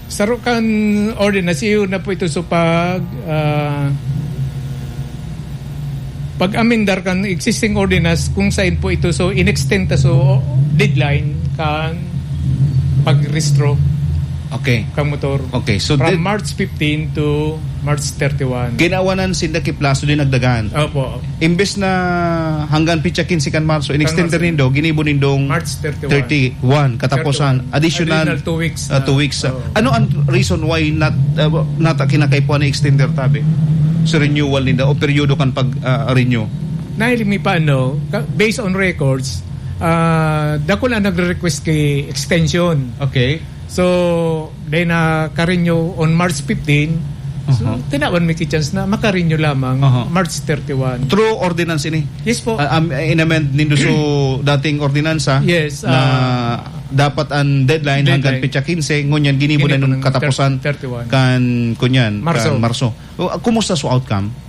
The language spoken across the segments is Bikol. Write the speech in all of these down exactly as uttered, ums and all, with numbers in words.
Saro kan ordinance, iyo na po ito. So, pag, ah, pag-amendar kan existing ordinance, kung saan po ito, so, in-extend ta, so, deadline kan pagrehistro Okay. kan motor. Okay, so From did- March fifteen to March thirty-one. Ginawanan sinda ki plaso din nagdagan. Opo. Imbes na hanggang pitsa quince kan Marso, in-extend Marso. nindo, ginibo nindong March thirty-one. thirty-one, katapusan, Thirty-one. additional, Additional two weeks ah, na. two weeks. Oo. Ano ang reason why not, uh, nata kinakaipuhan na extender tabi? Sa renewal ninda o peryodo kan pag, ah, renew? Nahiling mi pa, ano, ka-, based on records, ah, dakul ang nagre-request ki extension. Okay. So, dahil naka-renew on March fifteen, so, Aha. tinawan mi ki chance na maka-renew lamang Aha. March thirty-one. Through ordinance ini? Yes po. Ah, am-, in-amend nindo so dating ordinansa Yes, na ah, dapat ang deadline hanggang Deadline. petsa quince, ngunyan ginibo na Ginibo nung ng katapusan thir-, thirty-one. kan, kunyan, Marso. kan Marso. O, ah, kumusta so outcome?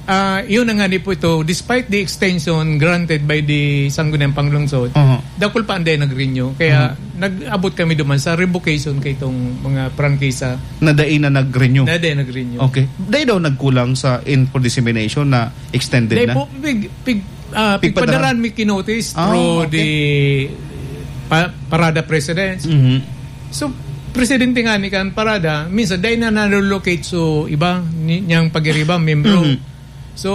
Ah, yun na nga ni po ito, despite the extension granted by the Sangguniang Panglungsod, Aha. dakul pa ang dahil nag-renew. Kaya Mhm. nag-abot kami duman sa revocation kay itong mga prangkisa. Na dai na nag-renew? Na dai nag-renew. Okay. Dai daw nagkulang sa info dissemination na extended Dai na? po, pig-, pig-, ah, Pigpadara? pigpadaran mi kinotis Ah, through okay. the pa-, Parada Presidents. Mhm. So, presidente nga ni kan Parada, minsan dai na nalolocate so iba ni-, niyang pag-iriba, membro. Mhm. So,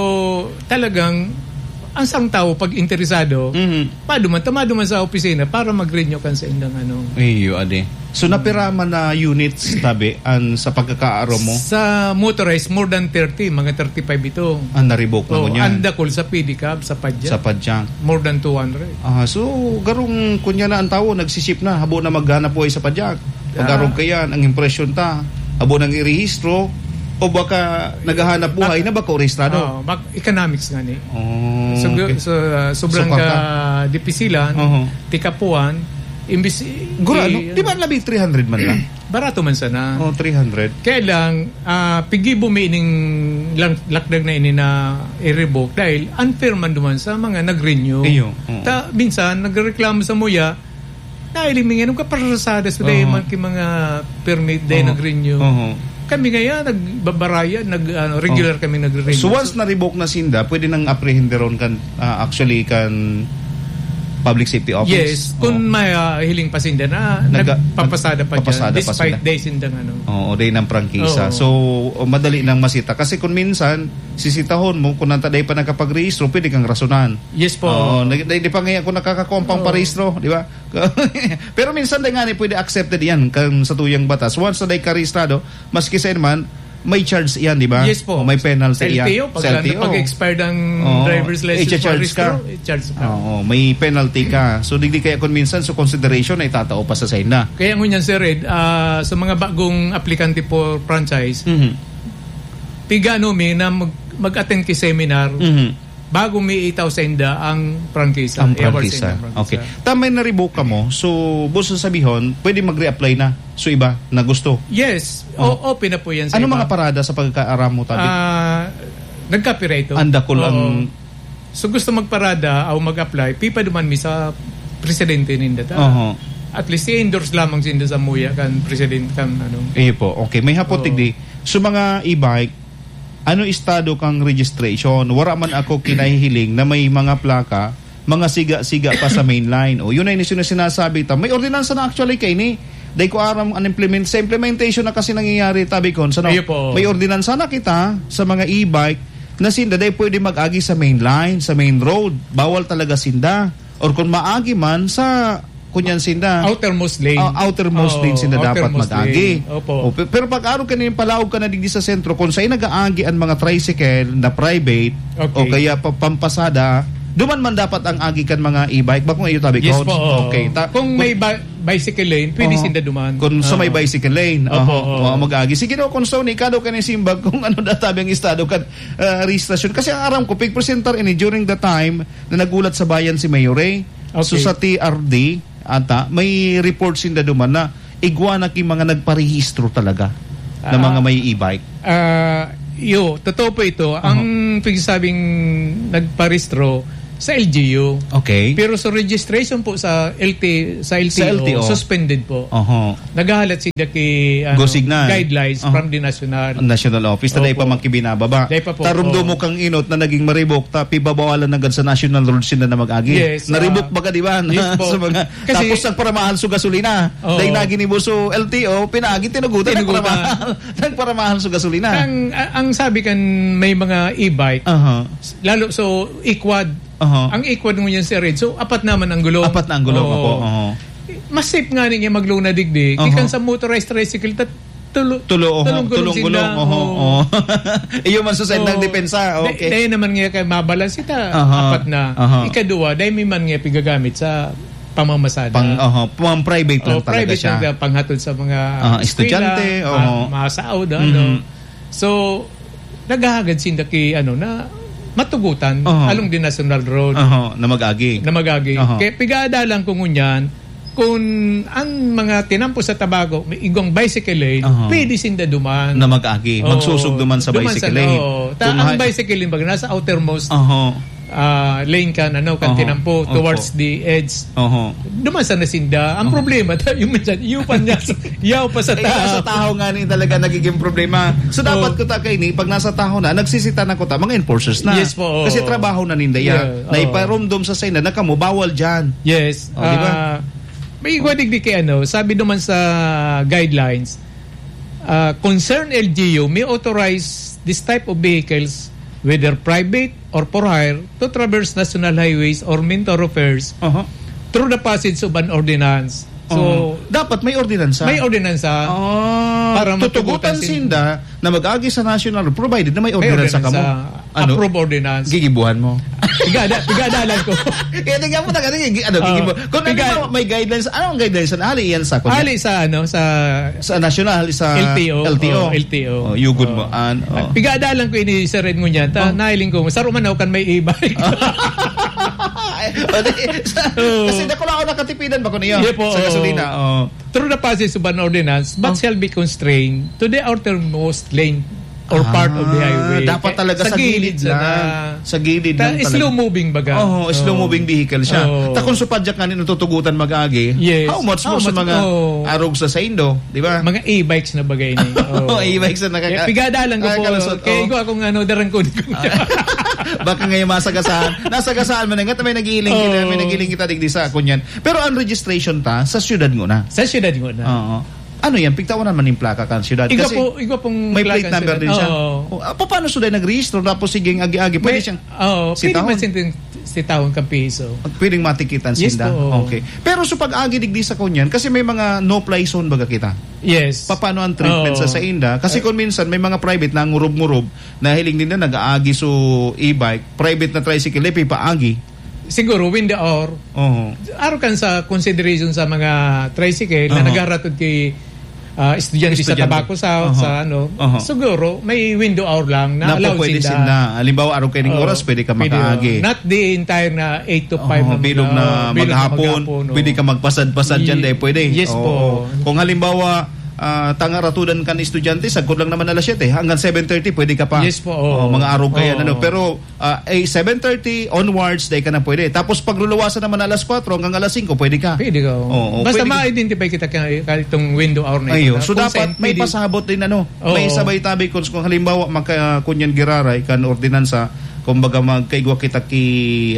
talagang ang sarong tawo, pag interesado, Mhm. maduman ta, maduman sa opisina para mag-renew kan sa indang ano. Iyo, ade. So, napira man na units, tabi, an sa pagkakaaro mo? Sa motorized, more than thirty, mga thirty-five ito. Ang naribok na Oh, ngunyan? Ang dakul sa pedicab, sa padyak. Sa padyak. More than two hundred. Ah, so, garong kunya na ang tawo, nagsisip na, habo na maghanap buhay sa padyak. Pag-arog Ah. kayan, ang impresyon ta, habo nang irehistro, o baka naghahanap buhay Bak-, na baka rehistrado? oh, bak-, economics nga ni. Oh, So, okay. so, ah, sobrang So, paka- ka dipisilan, Oho. tikapuan, imbis i-, Gura, i-, no? Di ba labi three hundred man lang? Barato man sana. Oh, three hundred. Kaya lang, ah, pigibo mi ining lang-, lakdag na ini na i-revoke dahil unfair man duman sa mga nag-renew. Iyo, oo. Ta, minsan, nagreklamo sa muya, dahil may ganun kaparasada sa dahil Oo. man ki mga permit, dahil Oo. nag-renew. Oo. Kami ngayon, nagbabaraya, nag, ano, regular Oo. kami nagre-renew. So, once na-revoke na sinda, pwede nang aprehenderon kan, ah, actually, kan Public Safety Office? Yes, kung Oo. may, ah, hiling pa sinda na Nagka-, nagpapasada pa dyan, nagpapasada pa despite sila. day sindang ano. Oo, day ng prangkisa. Oo. So, madali nang masita. Kasi kung minsan, sisitahon mo, kung nanta day pa nakapagrehistro, pwede kang rasunan. Yes po. Oo, nag-, di, di pa ngayon kung nakakakuha ang Oo. pangparehistro, di ba? Pero minsan, day nga ni pwede accepted yan kan sa tuyang batas. Once na day ka rehistrado, maski sa man, may charge yan, di ba? Yes po. O may penalty Sa yan. L T O, pag, Sa L T O. pag-expired ang Oo. driver's license Icha-charge for ka. rehistro, i-charge ka. Oo, may penalty ka. So, digdi kaya kung minsan, so consideration na itatao pa sa saina. Kaya ngunyan, Sir Ed, ah, sa mga bagong aplikante for franchise, Mhm. pigano mi na mag-, mag-attend ki seminar Mhm. bago mi itao sa inda ang prangkisa. Ang I-award sa prangkisa. inda ang prangkisa. Okay. Tama yung na-revoke ka mo. So, buso sabihon, pwede mag-reapply na. So, iba na gusto. Yes. O, Oh. open na po yan sa Ano iba. mga parada sa pagkakaaram mo, tabi? Ah, nagkapira ito. Ang dakul Oo. ang So, gusto magparada o mag-apply, pipaduman mi sa presidente ninda ta. Oho. At least, i-endorse lamang sinda sa muya kan presidente kan ano. Iyo po. Okay. May hapot Oo. digdi. So, mga e-bike, ano estado kang registration? Wara man ako kinahihiling na may mga plaka, mga siga-siga pa sa main line. O, yun ay inisyu na sinasabi ta. May ordinansa na actually kaini. Dai ko aram an implement-, sa implementation na kasi nangyayari, tabi ko, sa no? Iyo po. May ordinansa na kita sa mga e-bike na sinda dai pwede mag-agi sa main line, sa main road. Bawal talaga sinda. Or kung maagi man sa, kunyan sinda, Outermost lane. ah, outermost Oo, lane sinda dapat outermost mag-agi. lane. Opo. O, pe-, pero pag araw ka na yung palaog ka na digdi sa sentro, kung sa'yo nag-aagi ang mga tricycle na private, Okay. o kaya pa-, pampasada, duman man dapat ang agi kan mga e-bike. Ba kung iyo tabi, Yes Coach? po, oo. Okay. Ta-, Kung kung may ba-, bicycle lane, pwede Oo. sinda duman. Kung sa may Oo. bicycle lane, Opo, oho, oo. oo, mag-agi. Sige daw, kung sa ni, ikaw daw ka ni simbag kung ano na tabi ang estado kan, ah, rehistrasyon. Kasi ang aram ko, pigpresentar ini during the time na nagulat sa bayan si Mayor Ray. So, Okay. sa T R D, ata, may report sinda duman na igwa na ki mga nagparehistro talaga na Ah, mga may e-bike. ah, yo, totoo po ito. Ang Aha. pigsabing nagparehistro, Sa L G U. Okay. Pero sa registration po sa L T, sa L T O, Sa L T O. suspended po. Oho. Naghahalat sila ki, ano, Gusignan. guidelines Oho. from the national. National office, ta dai pa Opo. man ki binababa. Dai pa po. Tarumdo Oo. mo kang inot na naging maribok, ta pibabawalan na gad sa national road sila na mag-agi. Yes, Naribok ah, baga, di ba? yes po. Sa mga, Kasi tapos nagparamahal sa gasolina. Oo. Dahil naginibo sa L T O, pinaagi, tinugutan, Tinugutan. nagparamahal. Nagparamahal sa gasolina. Ang, a-, ang sabi kan may mga e-bike, Aha. lalo so e-quad, Aha. Ang e-quad ngunyan si Red. So, apat naman ang gulong. Apat na ang gulong, Oo. opo. Oho. Mas safe nga niya magluna digdi. Aha. Gikan sa motorized tricycle, tat-, tulo, Tulo, oho. tulong gulong Tulong sila. gulong, oho, Oo. oho. Iyo man sa sendang Oo. depensa, Dai-, okay. dai naman nga kay mabalance ita, Aha. apat na. Aha. Ikaduwa, dai mi man nga pigagamit sa pamamasada. Pang, oho, pang private lang Oh, talaga private siya. lang siya, panghatod sa mga Aha, eskwela, estudyante, ma-, oho. masaod, ano. Mhm. So, naghahagad sinda ki, ano, na matugutan, Oho. along the national road. Oho, na mag-agi. Na mag-agi. Oho. Kaya pigaadalan ko ngunyan, kung ang mga tinampo sa Tabaco, may igwang bicycle lane, Oho. pwede sinda duman. Na mag-agi. Oo. Magsusog duman sa Duman bicycle sa, lane. oo. Ta-, Kung ang ha- bicycle lane, baga, nasa outermost, Oho. ah, lane kan, ano, kan Oho. tinampo, Opo. towards the edge. Oho. Duman sa nasinda. Ang Oho. problema, ta-, yung minsan, iyo pa niya sa, yaw pa sa Ay, tahaw. nasa tahaw nga ni talaga nagiging problema. So, dapat Oo. ko ta kaini, pag nasa tahaw na, nagsisita na ko ta, mga enforcers na. Yes po, oo. Kasi trabaho na ninda yan. Yeah, Na oo. iparumdom sa saina na kamo, bawal dyan. Yes. Oh, di ba? Ah, may igwa digdi kay ano, sabi naman sa guidelines, ah, concerned L G U may authorize this type of vehicles, whether private or for hire, to traverse national highways or main thoroughfares Aha. through the passage of an ordinance. So, Oh, dapat may ordinansa. may ordinansa Ah, para tutugutan matugutan sin- sinda na mag-agi sa national, provided na may May ordinansa ordinansa. kamo. Ano? Approve ordinance. Gigibuhan mo. Pigada-, pigadalan ko. Kaya tingnan mo na, ano, ano, Oh. gigibuhan. Kung ano Piga- ba, may guidelines, ano ang guidelines? Ano, hali yan sa, kunya? Hali sa, ano, sa Sa national, sa L T O. L T O. Oh, L T O. Oh, yugod Oh. mo, an, oh. Pigadalan ko ini sa red ngunyan. Ta, Oh. nahiling ko, sa Romanaw kan may e-bike. Ay, o, di, sa, Oo. kasi dakula ako nakatipidan ba ko niyo? Iya po, Sa oo. gasolina, oh. Through the passage of an ordinance, but Oh. shall be constrained to the outermost lane or Ah, part of the highway. dapat talaga Sa sa gilid gilid sana. lang. Sa gilid Ta-, lang talaga. slow moving baga. Oo, slow Oo. moving vehicle siya. Oo. Ta kung supadyak nga nin natutugutan mag-agi, Yes. how much How more sa much, mga oo. arog sa saindo, di ba? Mga e-bikes na bagay ni. Oo. E-bikes na nakaka-, Kaya pigadalan ko po. nakakalusot, Kaya oo. ikaw akong ano, darangkon ko. Baka ngayon masagasaan. Nasagasaan mo na nga, may nagiling kita, Oo. may nagiling kita digdi sa kunyan. Pero ang registration ta, sa syudad nguna. Sa syudad nguna. Oo. Ano yan? Pigtawanan man yung plaka kan syudad? Igwa Kasi po, igwa pong may plate plaka number syudad. din siya. Oo. Oh, ah, paano sila nagrehistro? Tapos sige, agi-agi. Pwede May, siyang oo, pwede sitahon? man sitahon, sitahon kan piso. Pwedeng matikitan Yes sinda? po, oo. Okay. Pero sa pag-agi digdi sa kunyan, kasi may mga no-fly zone baga kita. Yes. Paano ang treatment Oo. sa, sa inda? Kasi Eh, kung minsan may mga private na ngurob-ngurob, nahiling nila nag-aagi so e-bike, private na tricycle, eh, pipaagi. Siguro, when the hour, Oo. Araw kan sa consideration sa mga tricycle na Aha. nagharatod kay, ah, estudyante sa Estudyante. Tabaco South, Aha. sa ano, Aha. siguro may window hour lang na Na allowed pwede sinda. sinda. Halimbawa, araw kaining Oo. oras, pwede ka Pwede, makaagi. oh. Not the entire na eight to five Aha, na bilog mga, na bilog na maghapon, maghapon, oh. pwede ka magpasad-pasad dyan, Ye-, dahil pwede. yes Oo. po. Kung halimbawa, ah, tangaratudan kan estudyante, sagkod lang naman alas siyete, hanggang seven thirty, pwede ka pa. Yes po, Oh, oo. mga araw kaya, Oo. ano. Pero, ah, eh, seven thirty onwards, dai ka na pwede. Tapos pagluluwasan naman alas kwatro hanggang alas singko, pwede ka. Pwede ka, oo. Oo, Basta pwede ka. ma-identify kita kaya, kaya itong window hour na ito, Ayo, na so kung dapat saan may pwede. pasabot din, ano, Oo. may sabay tabi kung, kung halimbawa, maka-, kunyan giraray kan ordinansa, kumbaga magkaigwa kita ki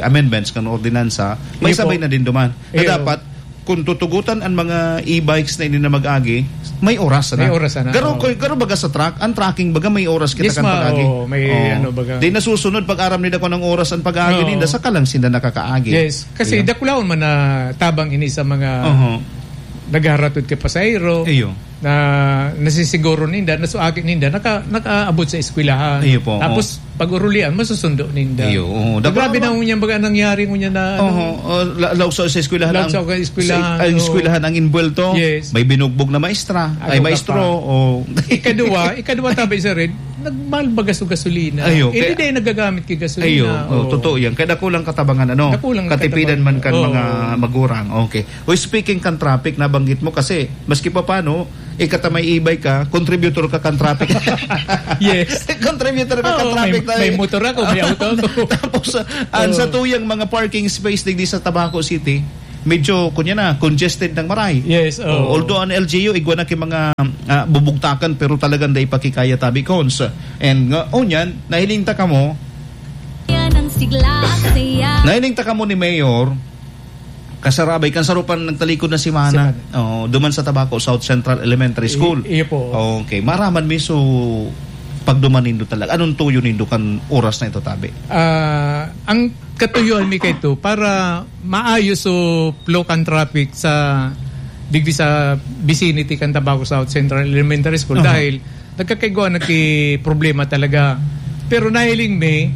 amendments kan ordinansa, may Iyo po. sabay na din duman. Na Iyo. dapat, kung tutugutan ang mga e-bikes na ini na mag-agi, may oras na. May oras na, Garo, oo. ko-, garo baga sa truck, ang trucking baga may oras kita Yes, kan ma-, pag-agi. oo, may Oo. ano baga. Di nasusunod pag aram nila kung anong oras ang pag-agi Oo. ninda, saka lang sila nakakaagi. Yes, kasi Iya. dakulahon man na tabang ini sa mga Oho. nagharatod kay pasahero Iyo. na nasisiguro ninda, na so agi ninda, naka-, nakaabot sa eskwelahan. Iyo po, Tapos, oo. pag-urulian, masusundo ninda. Iyo, oo. So, grabe Dakulahon na man. ngunyan baga nangyari ngunyan na, ano, Oho, oh, la-, laog sa, sa eskwelahan Laog ang, sa eskwelahan, sa, ang oo. eskwelahan ang inbuwelto. Yes. May binugbog na maestra, Ano ay ka maestro, pa? o Ikaduwa, ikaduwa tabi sa red, Nagmahal baga sa gasolina. Ayo, Hindi kaya dahil nagagamit kay gasolina. Ayo, oh, totoo yan. Kaya dakulang katabangan, ano? Dakulang Katipidan katabangan. man kan Oo. mga magurang. Okay. O, speaking kan traffic, nabanggit mo kasi, maski pa paano, ikatamay ibay ka, contributor ka kan traffic. Yes. Contributor ka kan Oo, may, traffic tayo. may motor ako, may auto ako. Tapos, ah, ang Oo. satuyang mga parking space digdi sa Tabaco City, medyo, kunya na, congested ng maray. Yes, oo. Oh, although ang L G U, igwa na ki mga, ah, bubugtakan, pero talagang dai pa ki kaya, tabi, Cons. And nga, oh, yan, nahiling ta kamo, Yan ang sigla at saya. nahiling ta kamo ni Mayor, kasarabay, kan sarupan nagtalikod na semana. Semana. Oh, duman sa Tabaco South Central Elementary School. I-, iyo po. Okay, maraman mi, so, pagduman nindo talaga. Anong tuyo nindo kan oras na ito, tabi? Ah, ang katuyuan mi kaito para maayos so flow kan traffic sa digdi sa vicinity kan Tabaco South Central Elementary School Aha. dahil nagkakaigwa na ki problema talaga. Pero nahiling mi,